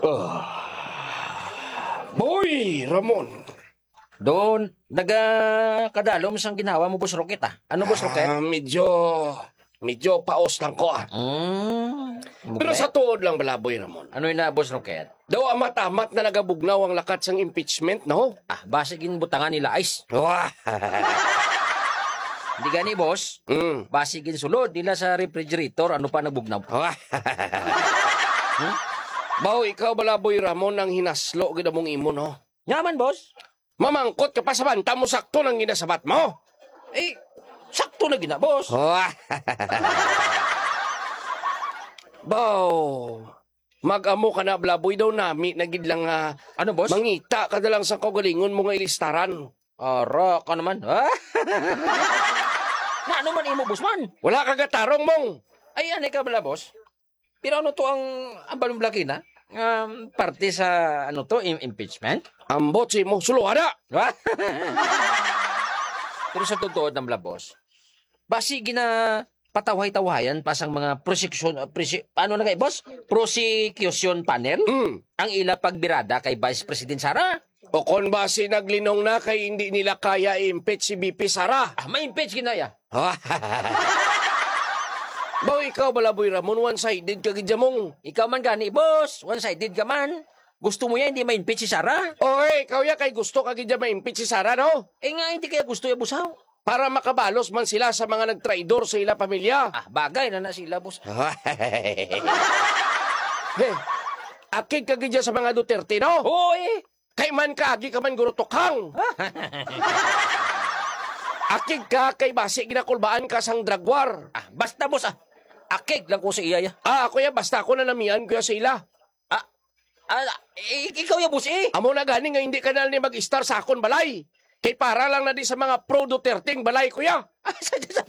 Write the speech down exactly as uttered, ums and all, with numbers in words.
Ah. Boy Ramon. Doon, nagakadalom sang ginhawa mo, Boss Rocket, ah. Ano, Boss Rocket? Ah, medyo, medyo paos lang ko, ah. Mm. Pero Okay. sa tuod lang bala, Boy Ramon. Ano yun na, Boss Rocket? Daw amat-amat na nagabugnaw ang lakat sang impeachment, no? Ah, basi ginbutangan nila ice. Wah! Hindi gani, boss. Mm. Basi ginsulod nila sa refrigerator, ano pa nabugnaw? Wah! Hmm? Baw, ikaw bala, Boy Ramon, ang hinaslo gid among imo, no? Nga man, boss. Mamangkot ka pa sa banta mo, sakto nang ginasabat mo. Eh, sakto na gina, boss. Wah! Baw, mag-amo ka na, Blaboy, daw nami na gid lang nga Ano, boss? mangita ka na lang sa kaugalingon mo nga ilistaran. Ara ka naman. Ah? Na ano man imo, boss man? Wala ka gatarong, Mong. Ay, anay ka bala, boss? Pero ano to ang, ang balong blaki na? Um, parte sa, ano to, im- impeachment? Ambot si mo, suluhara. Pero sa totoo ng bala, boss, basi gina patawhay-tawhayan pa sang mga prosecution, uh, prose- ano na kay, boss? Prosecution panel? Mm. Ang ila pagbirada kay Vice President Sara. O kon basi naglinong na kay hindi nila kaya i-impeach si V P Sara. Ah, ma-impeach ginaya. Baw, ikaw bala, Boy Ramon, one-sided ka gid, Jamong. Ikaw man gani, boss. One-sided ka man. Gusto mo yan, hindi ma-impeach si Sara? Oy, ikaw ya kay gusto ka gid ya ma-impeach si Sara, no? Eh nga, hindi kaya gusto ya, boss, haw? Para makabalos man sila sa mga nagtraidor sa ila pamilya. Ah, bagay na na sila, boss. Hey, akig ka gid ya sa mga Duterte, no? Oo, eh. Kay man kaagi ka man, Guro Tukhang. Akig ka kay basi ginakulbaan ka sang drug war. Ah, basta, boss, ah. Akig lang ko sa iya, ya. Ah, ako ya, basta ako na namian ko ya sa ila. Ah, ah, eh, ikaw ya, boss, eh. Amo na gani nga hindi ka na ni mag-istar sa akon balay. Kay para lang na di sa mga pro Duterte ang balay ko ya. Ah, sa, sa, sa,